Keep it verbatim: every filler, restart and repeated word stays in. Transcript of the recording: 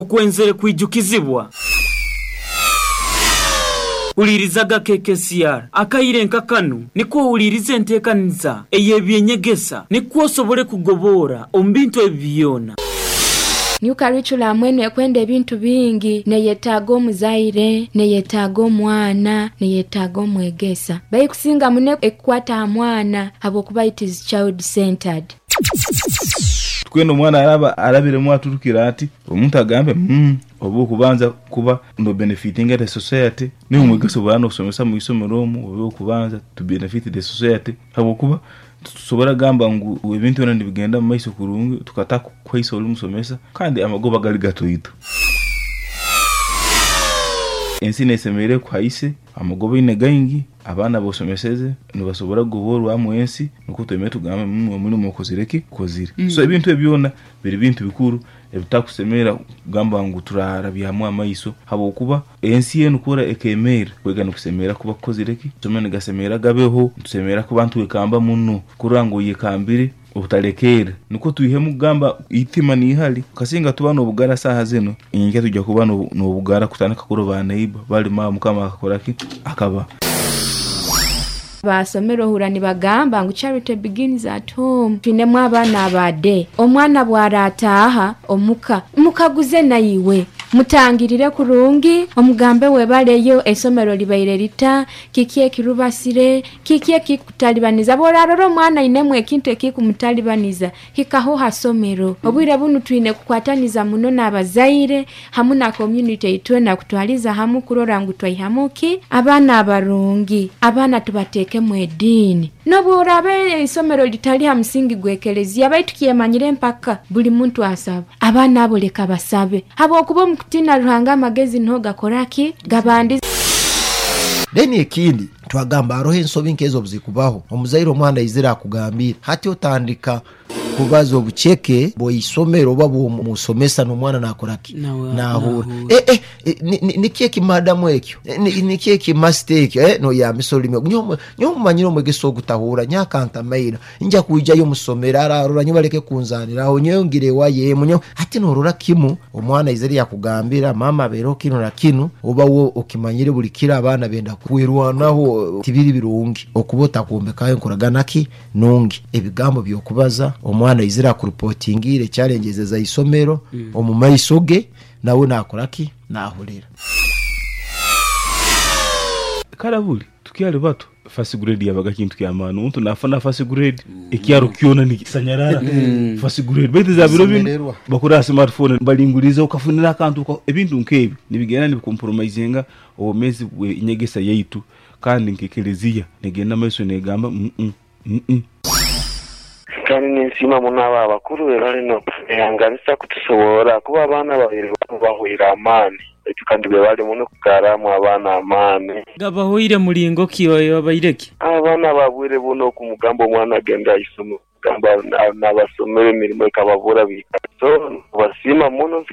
Okwenzere kwijukizibwa Ulirizaga K K C R akaire nka kanu nikwo uliriza enteekaniza ey'ebyenyegesa nikwo osobole kugobora omu bintu ebi byona. New curriculum eno ekwenda ebintu bingi, neyetaaga omuzaire, neyetaaga omwana, neyetaaga omwegesa. Baikusinga muno ekukwata aha mwana habwokuba it is child centered. Twena omwana araba arabiremu aturukira ati omuntu agambe mm, oba okubanza kuba no benefiting the society niwe omwegesa obwana osomesa mu isomero omu oba okubanza to benefit the society habwokuba tusobora gamba ngu ebintu byona nibigenda mu maiso kurungi tukataka kuhaisa ori musomesa kandi amagoba gali gatoito. Ensi nesemereire kuhaise amagoba ine gaingi abaana bosomeseze nibasobora kugoborwamu ensi nukwo tweme tugambe mm, omulimu okozire ki kozire. Mm. So ebintu ebyona biri bintu bikuru ebitakusemera kugamba ngu turarabyamu amaiso habwokuba ensi enu kura ekemeera kwega nikusemera kuba kukozire ki somero nigasemera gabeho nitusemera kuba ntwekamba muno kurora ngu oyekambire obutalekeera nukwo twihemu kugamba itima niihali kasinga tuba n'obugara saaha zino inkya tujja kuba n'obugara kutandika kuroba neighbor balima mukama akakora ki akaba Basomero ohura nibagamba ngu charity begins at home. Twinemu abaana abade omwana bwarataaha omuka mukaguze naiwe mutangirire kurungi omugambe webaleyo esomero libaire lita kiki ekirubasire kiki ekikutalibaniza bworarora omwana ainemu ekintu ekikumutalibaniza hikaho hasomero obwire bunu twine kukwataniza muno n'abazaire hamu na community itwena kutwaliza hamu kurora ngu twaihamu ki abaana abarungi abaana tubateekemu ediini n'obworaaba isomero litali ha musingi gw'ekelezia baitu kyemanyire mpaka buli muntu asaba abaana abo leka basabe habwokuba omu kutiina Ruhanga amagezi niho gakora ki gabandiza. Then ekindi twagamba haroho ensobi nkezo obuzikubaho omuzaire omwana aizire akugambire hati otandika kubaza obuceke bw'isomero oba bw'omusomesa n'omwana nakora ki nahura eh, eh, niki ekimadamu ekyo niki ekimasita ekyo eh, noyambisa olulimi nyowe mumanyire omwegesa ogutahura nyakantamaira nja kwijayo musomero ararora nyo baleke kunzaniraho nyowe ngire ewayo emu nyowe hati norora kimu omwana aizire yakugambira mama abeereho kinu na kinu oba wo okimanyire buli kiro abaana benda kwirwanaho tibiri birungi okuba otakumbekayo enkoragana ki nungi ebigambo by'okubaza omwana aizire akurupotingire challenges za isomero mm. omu maiso ge nawe nakora ki nahurira. Karabuli tukyali bato first grade yabaga kintu kyamaani omuntu nafuna first grade ekyaro kyona nikisanyarara first grade baitu za biro bino bakura smartphone balinguliza okafunira akantu ebintu nkebi nibigenda nibicompromisinga obumezi bw'enyegesa yaitu kandi nk'ekelezia negenda maiso negamba mm -mm, mm -mm. Kandi ninsiima muno abo abakuru be bali n'okuyanganisa kutusoborra kuba abaana babiri bahwire amaani baitu kandi be bali muno kugarramu abaana amaani. Gabahoire mulingo ki babaireki? Abaana babwire buno okumugamba omwana agenda aisoma gamba n'abasomero emirimo ekababura biika so basiima muno.